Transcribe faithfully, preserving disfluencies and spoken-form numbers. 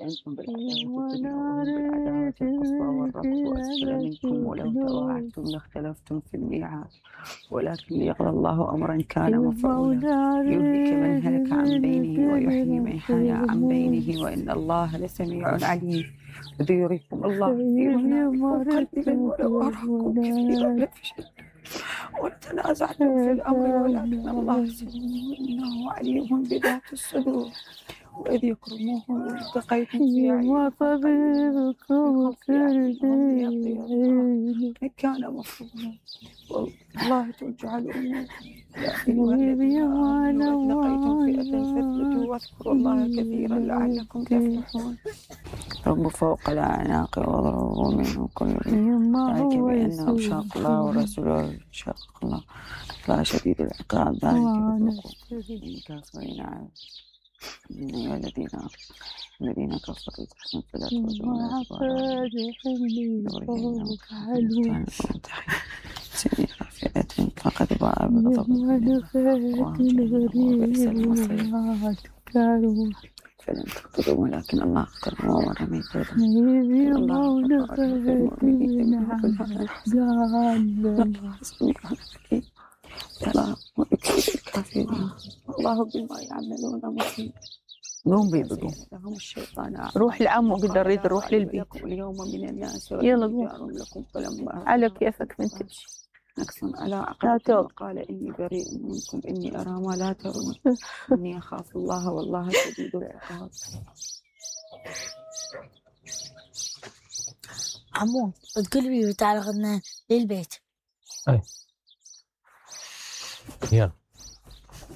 أنتم بالعداوة الدنيا بالعداوة القصوى والربط وأسفل منكم ولو تواعدتم لاختلفتم في الميعاد ولكن ليقضى الله أمرا كان مفعولا يهلك من هلك عن بينه ويحيي من حي عن بينه وإن الله لسميع عليم إذ يريكم الله في منامكم قليلا ولو أراكم كثيرا لفشلتم وتنازعتم في الأمر ولكن الله سميع إنه عليم بذات الصدور وإذ يكرموهم والتقيتم في أعينكم في كان مفروضا والله ترجع الأمور يا أيها الذين آمنوا إذ لقيتم فئة فاثبتوا واذكروا الله كثيرا لعلكم تفلحون رب فوق الأعناق واضربوا منه كل ذلك بأنه شاق الله ورسوله شاق الله لا شديد العقاب ذلك الكافرين عاد من أيها الذين الذين كفروا تحسن فلا تردون سنين فئة فقد باء بغضب من وبئس المصير فلم تقتلوا ولكن الله قتل وما رميت الله قتل في المؤمنين الله سميع حكيم فلا ويكفي الكافرين الله بما يعملون محيط قوم بي بقوم لهم الشيطان روح لعمو قد اريد نروح للبيت اليوم من الناس يلا قوم لكم فلما على كيفك من تمشي نقص على عقبكم قال إني بريء منكم إني أرى ما لا ترون إني أخاف الله والله شديد العقاب. عمو تقول لي تعال غدنا للبيت. أي يلا.